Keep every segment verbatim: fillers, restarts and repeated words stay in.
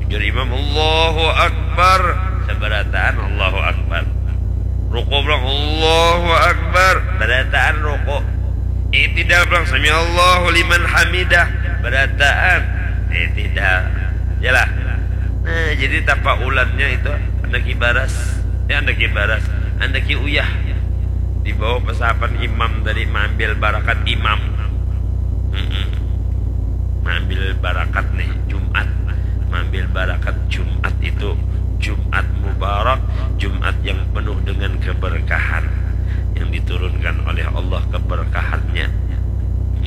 Jar imam, "Allahu Akbar." Sabarataan Allahu Akbar. Ruku pulang, "Allahu Akbar." Barataan ruku. I'tidal pulang, "Sami'allahu liman hamidah." Barataan i'tidal. Yalah. Nah, jadi tapaulannya itu handak ibaras. Ya, handak ibaras. Handak uyah. Di bawah pesahapan imam tadi, maambil barakat imam. Mm-mm. Maambil barakat nih, Jumat. Maambil barakat Jumat itu, Jumat mubarak, Jumat yang penuh dengan keberkahan, yang diturunkan oleh Allah keberkahannya.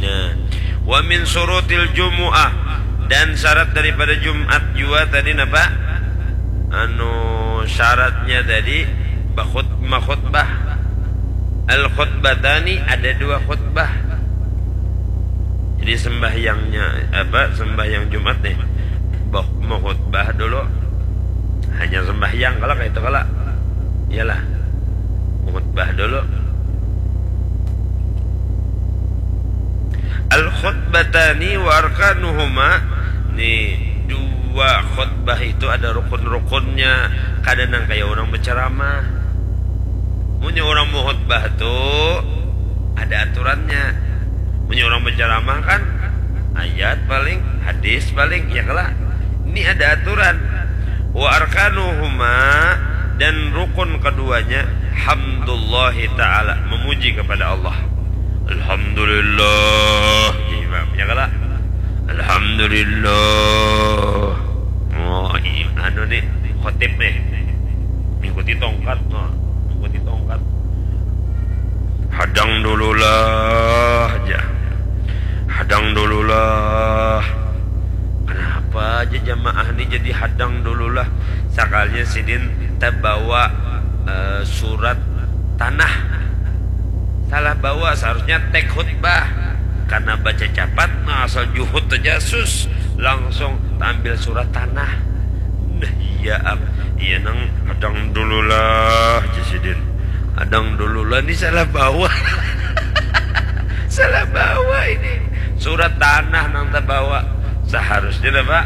Nah, wa min syurutil jumu'ah, dan syarat daripada Jumat jua tadi napa? Anu, syaratnya tadi bakhut-, makhutbah. Al khutbatani, ada dua khutbah. Jadi sembahyangnya apa? Sembahyang Jumat nih. Bah, mau khutbah dulu. Hanya sembahyang kala kayak itu kala. Iyalah. Khutbah dulu. Al khutbatani wa arkanuhuma. Nih, dua khutbah itu ada rukun-rukunnya. Kada nang kayak orang berceramah. Munnya orang mau khutbah tuh ada aturannya. Munnya orang berceramah kan ayat paling, hadis paling, ya kala. Ini ada aturan. Wa arkanuhuma, dan rukun keduanya, hamdullahi ta'ala, memuji kepada Allah. Alhamdulillah, ya imam, ya kala. Alhamdulillah. Oh, i-, anu nih, khotib nih. Mengikuti tongkat, nah, mengikuti tongkat. Hadang dululah aja. Hadang dululah. Kenapa aja jamaah ini jadi hadang dululah? Sakalinya sidin tabawa, eh, surat tanah. Salah bawa, seharusnya tek khutbah. Karena baca capat, nah, asal juhut aja sus. Langsung taambil surat tanah. Nah, iya, am. Iya, nang hadang dululah, jar sidin. Hadang dululah ni salah bawa. Salah bawa ini. Surat tanah nang tabawa. Seharusnya apa?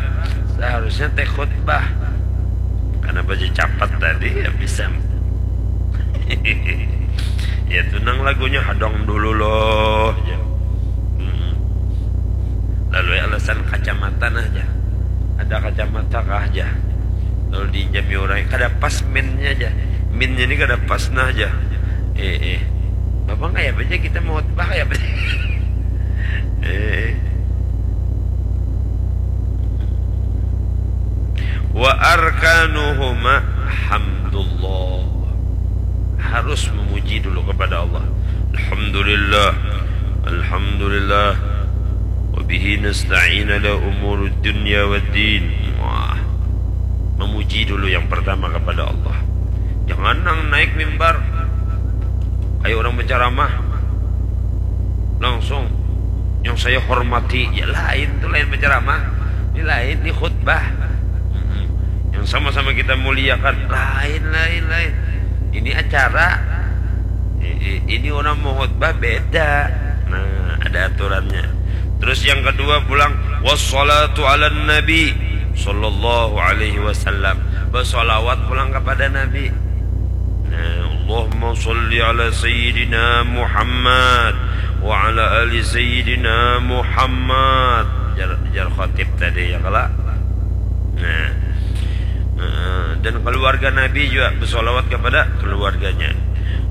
Seharusnya tek khutbah. Karena baca capat tadi, ya bisa. Ya, itu nang lagunya hadang dululah, jar. Mm-mm. Lalu ya alasan kacamata nah, jar. Ada kacamata kah, jar? Lalu diinjami orang, kada pas minnya, jar. Minnya ni kada pas nah, jar. Eh, eh. Bapak kayak apa aja kita mau khutbah kayak apa aja? Eh. Wa arkanuhuma hamdullah. Harus memuji dulu kepada Allah. Alhamdulillah. Alhamdulillah. Wa bihi nasta'in ala umurud dunya wad din. Wah. Memuji dulu yang pertama kepada Allah. Jangan nang naik mimbar kayak orang berceramah. Langsung, "Yang saya hormati," ya lain, itu lain berceramah. Ini lain, ini khutbah. Mm-mm. Yang sama-sama kita muliakan, lain, lain, lain. Ini acara. I-, i-, ini orang mau khutbah beda. Nah, ada aturannya. Terus yang kedua pulang, wassalatu ala nabi sallallahu alaihi wasallam. Bersolawat pulang kepada Nabi. Nah, Allahumma salli ala sayyidina Muhammad wa ala ali sayyidina Muhammad. Jar, jar khotib tadi, ya kala. Nah, eh, dan keluarga Nabi juga bersolawat kepada keluarganya.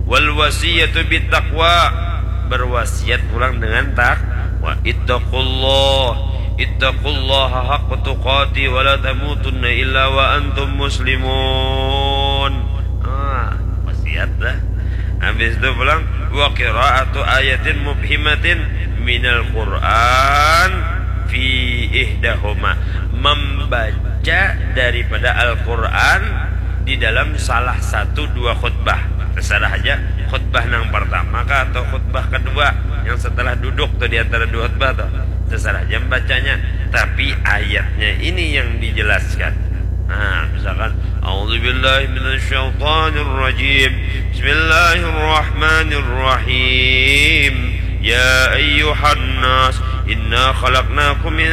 Wal wasiyatu bit taqwa, berwasiat pulang dengan takwa. Ittaqullah, ittaqullaha haqqa tuqati wa la tamutunna illa wa antum muslimun. Ah, wasiat dah. Habis itu pulang, wa qiraatu ayatin mubhimatin minal Qur'an fi ihdahuma. Membaca daripada Al-Qur'an di dalam salah satu dua khutbah. Terserah aja, khutbah yang pertama kah atau khutbah kedua yang setelah duduk tuh di antara dua khutbah tuh. Terserah aja membacanya, tapi ayatnya ini yang dijelaskan. Nah, misalkan, "A'udzubillahi minasyaitonirrajim. Bismillahirrahmanirrahim. Ya ayyuhan nas, inna khalaqnakum min